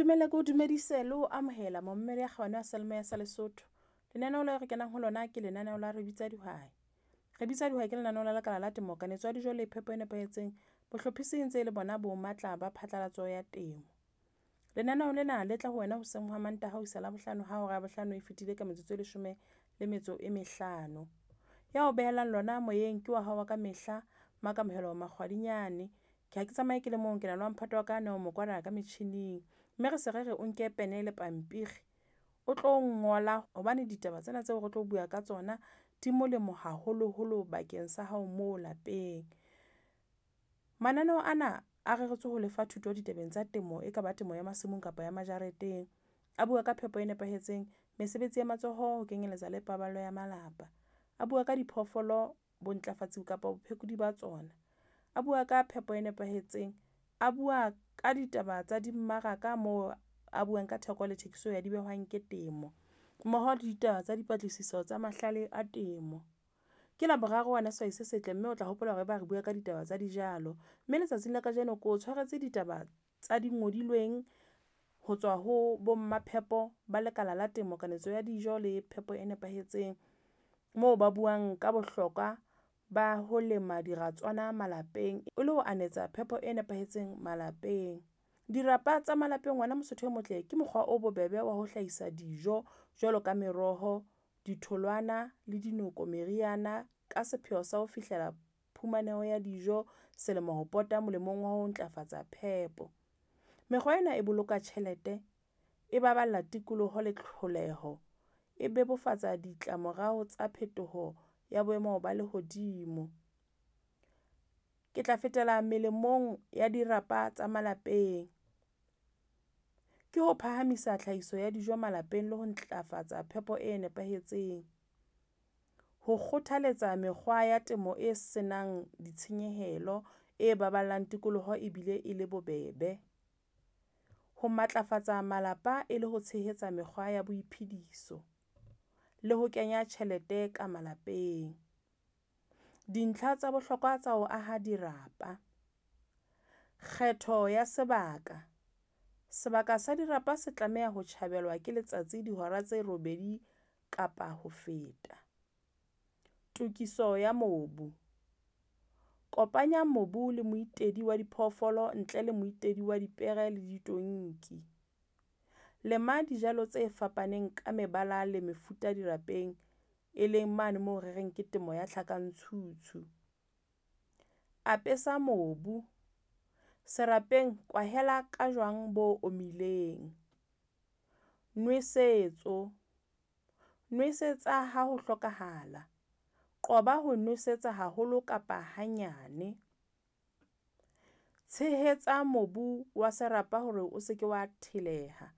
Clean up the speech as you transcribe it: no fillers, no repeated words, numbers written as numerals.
Ntumelle ke o dumedise le ho amohela momamedi ya kgabane wa seyalemoya sa Lesotho. Lenaneo leo re kenang ho lona ke lenaneo la Re Bitsa Dihwai. Re Bitsa Dihwai ke lenaneo la lekala la temo, kanetso ya dijo le phepo e nepahetseng. Bohlophisi e ntse le bona bo matla ba phatlalatso ya temo. Lenaneo lena le tla ho wena hoseng hwa Mantaha ho isa Labohlano ha hora ya bohlano e fetile ka metsotso e leshome le metso e mehlano. Ya o behelang lona moyeng ke wa hao wa ka mehla, Makamohelo Makgwadinyane. Ke ha ke tsamaye ke le mong, ke na le wa mphato wa ka Neo Mokwena ka metjhining. Mme re se re re o nke pene le pampiri o tlo ngola hobane ditaba tsena tseo re tlo bua ka tsona di molemo haholoholo bakeng sa hao moo lapeng. Mananeo ana a reretswe ho lefa thuto ditabeng tsa temo, e kaba temo ya masimong kapa ya majareteng. A bua ka phepo e nepahetseng, mesebetsi ya matsoho ho kenyeletsa le paballo ya malapa. A bua ka diphoofolo, bontlafatsi kapa bophekodi ba tsona. A bua ka phepo e nepahetseng, a bua ka ditaba tsa dimmaraka moo a buang ka theko le thekiso ya di behwang ke temo, mmoho le ditaba tsa dipatlisiso tsa mahlale a temo. Ke Laboraro wena sehwai se setle, mme o tla hopola hore eba re bua ka ditaba tsa dijalo. Mme letsatsing la kajeno ke o tshwaretse ditaba tsa dingodilweng ho tswa ho bo maphepo ba lekala la temo, kanetso ya dijo le phepo e nepahetseng. Moo ba buang ka bohlokwa ba ho lema diratswana malapeng e le ho anetsa phepo e nepahetseng malapeng. Dirapa tsa malapeng ngwana Mosotho e motle ke mokgwa o bobebe wa ho hlahisa dijo jwalo ka meroho, ditholwana le dinoko, meriana ka sepheo sa ho fihlela phumaneho ya dijo selemo ho pota molemong wa ho ntlafatsa phepo. Mekgwa ena e boloka tjhelete, e baballa tikoloho le tlholeho, e bebofatsa ditlamorao tsa phetoho ya boemo ba lehodimo. Ke tla fetela melemong ya dirapa tsa malapeng. Ke ho phahamisa tlhahiso ya dijo malapeng le ho ntlafatsa phepo e nepahetseng. Ho kgothaletsa mekgwa ya temo e senang ditshenyehelo, e baballang tikoloho ebile e le bobebe. Ho matlafatsa malapa e le ho tshehetsa mekgwa ya boiphediso le ho kenya tjhelete ka malapeng. Dintlha tsa bohlokwa tsa ho aha dirapa. Kgetho ya sebaka, sebaka sa dirapa se tlameha ho tjhabelwa ke letsatsi dihora tse robedi kapa ho feta. Tokiso ya mobu, kopanya mobu le moitedi wa diphoofolo ntle le moitedi wa dipere le ditonki. Lema dijalo tse fapaneng ka mebala le mefuta dirapeng, e leng mane moo re reng ke temo ya tlhakantshutshu. Apesa mobu, serapeng kwahela ka jwang bo omileng. Nwesetso, nwesetsa ha ho hlokahala. Qoba ho nosetsa haholo kapa hanyane. Tshehetsa mobu wa serapa hore o seke wa theleha.